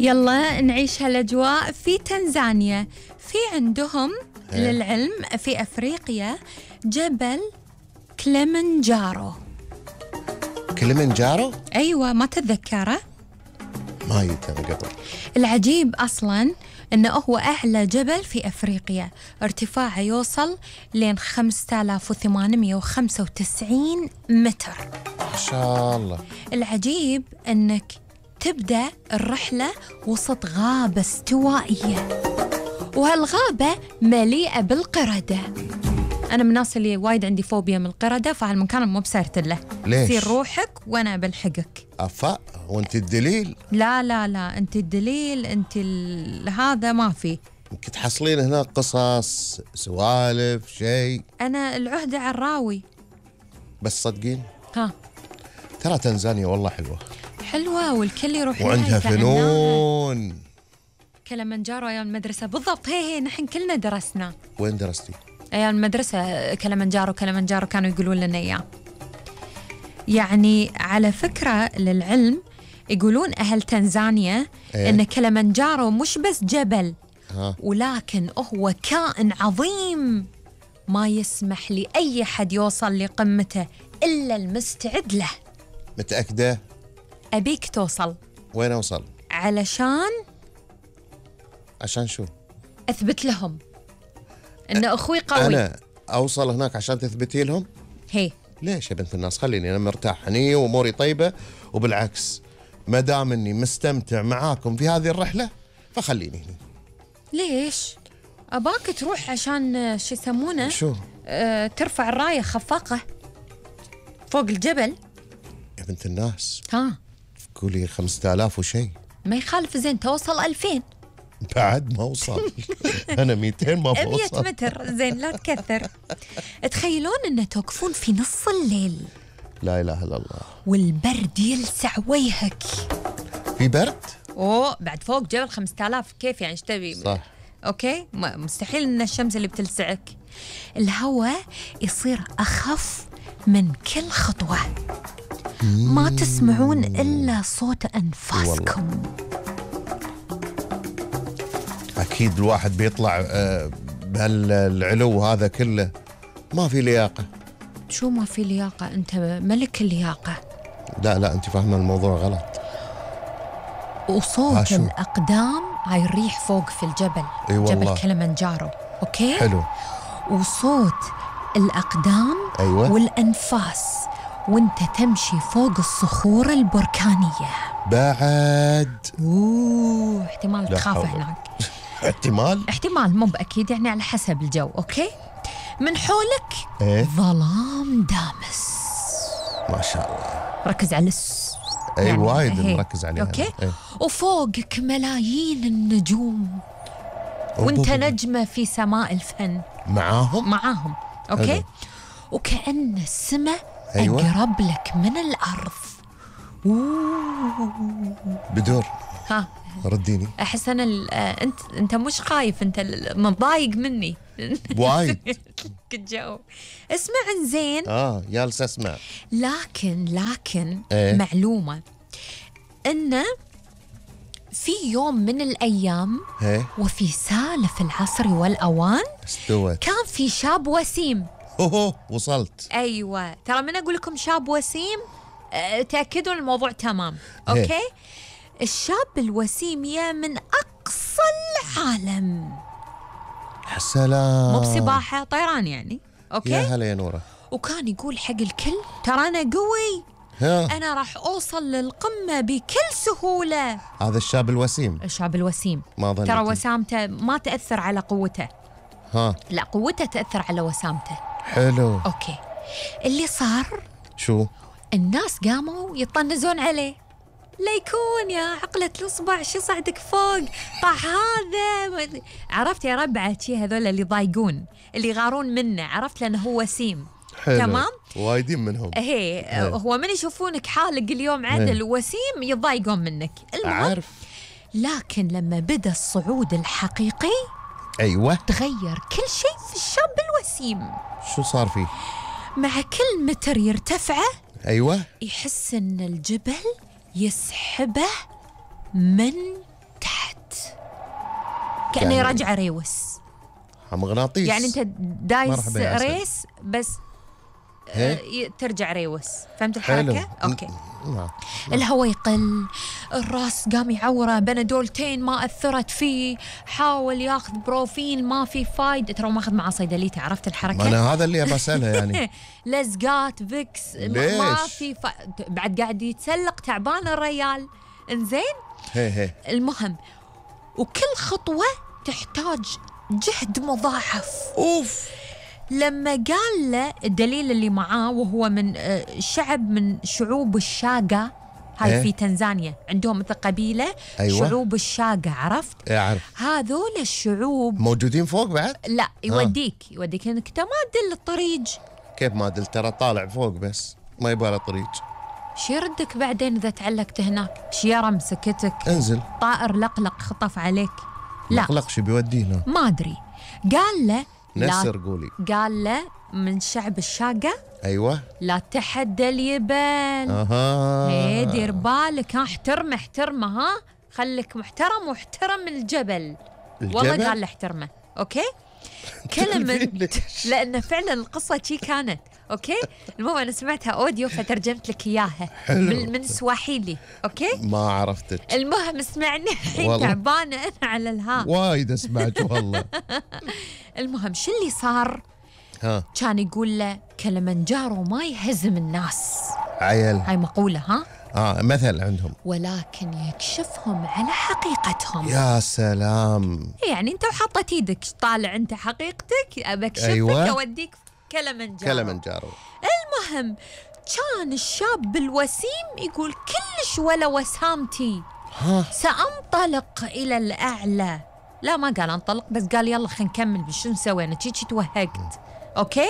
يلا نعيش هالأجواء في تنزانيا. في عندهم للعلم في أفريقيا جبل كليمنجارو. كليمنجارو؟ أيوة، ما تتذكره؟ ما يتذكر قبل. العجيب أصلاً إنه هو أعلى جبل في أفريقيا، ارتفاعه يوصل لين 5895 متر. ما شاء الله. العجيب إنك تبدأ الرحلة وسط غابة استوائية، وهالغابة مليئة بالقردة. أنا من الناس اللي وايد عندي فوبيا من القردة، فهالمكان مو بسرت له. ليش؟ سير روحك وأنا بلحقك. أفا وأنت الدليل؟ لا لا لا، أنت الدليل، أنت هذا ما في. يمكن تحصلين هناك قصص سوالف شيء. أنا العهدة على الراوي. بس صدقين ها، ترى تنزانيا والله حلوة حلوة والكل يروح لها وعندها يتعناها. فنون. كلمنجارو أيام المدرسة بالضبط، هي نحن كلنا درسنا. وين درستي؟ أيام المدرسة كلمنجارو كانوا يقولون لنا إياه. يعني على فكرة للعلم يقولون أهل تنزانيا إن كلمنجارو مش بس جبل، ولكن هو كائن عظيم ما يسمح لأي حد يوصل لقمته إلا المستعد له. متأكدة؟ أبيك توصل. وين أوصل؟ عشان شو؟ أثبت لهم إن أخوي قوي. أنا أوصل هناك عشان تثبتي لهم؟ هي ليش يا بنت الناس؟ خليني أنا مرتاح هني وأموري طيبة، وبالعكس ما دام إني مستمتع معاكم في هذه الرحلة فخليني هنا. ليش؟ أباك تروح عشان شو يسمونه؟ شو؟ ترفع الراية خفاقة فوق الجبل. يا بنت الناس ها، قولي 5000 وشيء. ما يخالف، زين توصل 2000. بعد ما أوصل. أنا 200 ما بوصل. 100 متر، زين لا تكثر. تخيلون أن توقفون في نص الليل، لا إله إلا الله، والبرد يلسع وجهك. في برد؟ أوه، بعد فوق جبل 5000 كيف يعني؟ ايش تبي؟ صح. أوكي، مستحيل أن الشمس اللي بتلسعك. الهواء يصير أخف من كل خطوة، ما تسمعون إلا صوت أنفاسكم. أكيد الواحد بيطلع بهالعلو هذا كله ما في لياقة. شو ما في لياقة؟ أنت ملك اللياقة. لا أنت فاهمة الموضوع غلط. وصوت الأقدام هاي الريح فوق في الجبل. جبل كليمنجارو. أوكي؟ حلو. وصوت الأقدام والأنفاس وانت تمشي فوق الصخور البركانية بعد. احتمال تخاف هناك. احتمال مو بأكيد، يعني على حسب الجو. أوكي؟ من حولك ظلام دامس. ما شاء الله. ركز على يعني وايد مركز عليها. أوكي؟ وفوقك ملايين النجوم وانت نجمة في سماء الفن معاهم. أوكي؟ حلو. وكأن السماء أقرب لك من الأرض. بدور. ها، رديني. أحس أنا أنت مش خايف، أنت مضايق مني وايد. الجو. اسمع زين. جالس أسمع. لكن معلومة إن في يوم من الأيام وفي سالف العصر والأوان استوت. كان في شاب وسيم. وصلت. أيوة، ترى من أقول لكم شاب وسيم تأكدوا الموضوع تمام. أوكي؟ الشاب الوسيم يا من أقصى العالم. سلام. مو بسباحة، طيران يعني. أوكي؟ يا هلا يا نورة. وكان يقول حق الكل ترى أنا قوي، أنا راح أوصل للقمة بكل سهولة. هذا الشاب الوسيم. ما ظنيت. ترى وسامته ما تأثر على قوته. لا، قوته تأثر على وسامته. حلو. أوكي، اللي صار شو؟ الناس قاموا يطنزون عليه. لا يكون يا عقلة الأصبع شو صعدك فوق طاح هذا. عرفت يا ربعتي هذول اللي ضايقون، اللي يغارون منه، عرفت، لأنه هو وسيم. حلو. تمام. وايدين منهم. هو من يشوفونك حالق اليوم عدل وسيم يضايقون منك. عارف. لكن لما بدأ الصعود الحقيقي تغير كل شيء في الشاب الوسيم. شو صار فيه؟ مع كل متر يرتفعه أيوة يحس إن الجبل يسحبه من كأنه يرجع ريوس. مغناطيس. يعني أنت دايس مرحبا يا أسد. ريس بس ترجع ريوس. فهمت حلو. الحركة؟ أوكي. الهواء يقل، الراس قام يعوره، بنادولتين ما أثرت فيه، حاول ياخذ بروفين ما في فايدة، ترى ما أخذ معاه صيدليته. عرفت الحركة؟ أنا هذا اللي بسألها يعني. لزقات فيكس ما في بعد قاعد يتسلق تعبان الريال. إنزين؟ هي المهم، وكل خطوة تحتاج جهد مضاعف. أوف. لما قال له الدليل اللي معاه، وهو من شعب من شعوب الشاقة، هاي في تنزانيا عندهم مثل قبيلة. أيوة. شعوب الشاقة، عرفت؟ أعرف. هذول الشعوب موجودين فوق بعد؟ لا، يوديك انك انت ما تدل الطريق. كيف ما دل؟ ترى طالع فوق بس ما يبغى له طريق. شي يردك بعدين اذا تعلقت هناك؟ شيارة مسكتك، انزل، طائر لقلق خطف عليك. لا لقلق شو بيودينا؟ ما ادري. قال له نسر قولي. قال له من شعب الشاقة. ايوه. لا تحدى اليبال. اها. دير بالك، احترمه، ها، خليك محترم واحترم الجبل. والله قال له احترمه. اوكي. كلمة لأن فعلا القصة شي كانت. اوكي. المهم انا سمعتها اوديو فترجمت لك اياها من سواحيلي. اوكي. ما عرفتك. المهم اسمعني الحين، تعبانة انا على الها وايد اسمعك والله. المهم شو اللي صار؟ كان يقول له كلمنجارو ما يهزم الناس. عيل. هاي مقولة. مثل عندهم. ولكن يكشفهم على حقيقتهم. يا سلام. يعني انت وحطت ايدك طالع انت حقيقتك، ابكشفك. أيوة. اوديك كلمنجارو. المهم كان الشاب الوسيم يقول كلش ولا وسامتي، سأنطلق إلى الأعلى. لا ما قال انطلق، بس قال يلا خلينا نكمل بشو نسوي، انا شي توهقت. اوكي.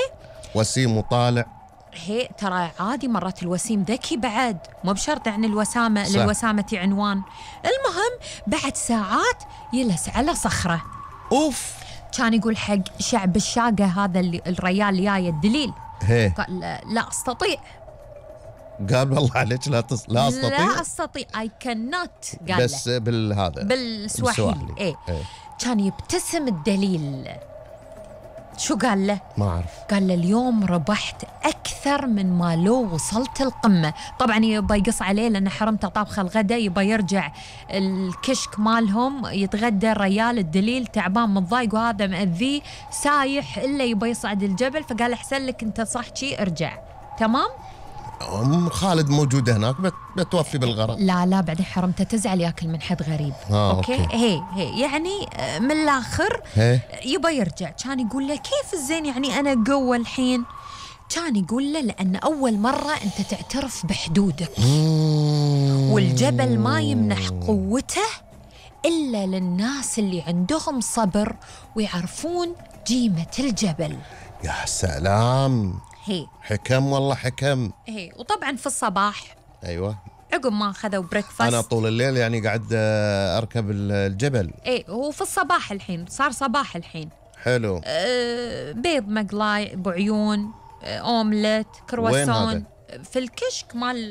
وسيم وطالع. هي ترى عادي مرات الوسيم ذكي بعد، مو بشرط يعني الوسامة صح. للوسامة عنوان. المهم بعد ساعات يلس على صخرة. اوف. كان يقول حق شعب الشاقة هذا اللي الريال اللي جاي الدليل. قال لا استطيع. قال والله عليك لا استطيع. لا استطيع I cannot. قال بس بالهذا بالسواحيلي. ايه. كان يبتسم الدليل. شو قال له؟ ما أعرف. قال له اليوم ربحت أكثر من ما لو وصلت القمة. طبعا يبى يقص عليه لأنه حرمته طابخ الغداء، يبى يرجع الكشك مالهم يتغدى الريال الدليل تعبان متضايق وهذا مأذيه سايح إلا يبى يصعد الجبل. فقال أحسن لك أنت صح شي ارجع. تمام. خالد موجودة هناك بتوفي بالغرض. لا بعدين حرمته تزعل ياكل من حد غريب. أوكي. هي يعني من الآخر يبى يرجع. كان يقول له كيف الزين يعني أنا قوة الحين؟ كان يقول له لأن أول مرة أنت تعترف بحدودك، والجبل ما يمنح قوته إلا للناس اللي عندهم صبر ويعرفون قيمة الجبل. يا سلام. حكم والله حكم. وطبعا في الصباح ايوه عقب ما اخذوا بريكفاست، انا طول الليل يعني قاعد اركب الجبل. هو في الصباح الحين، صار صباح الحين. حلو. بيض مقلاي بعيون، اومليت، كرواسون. وين هذا؟ في الكشك مال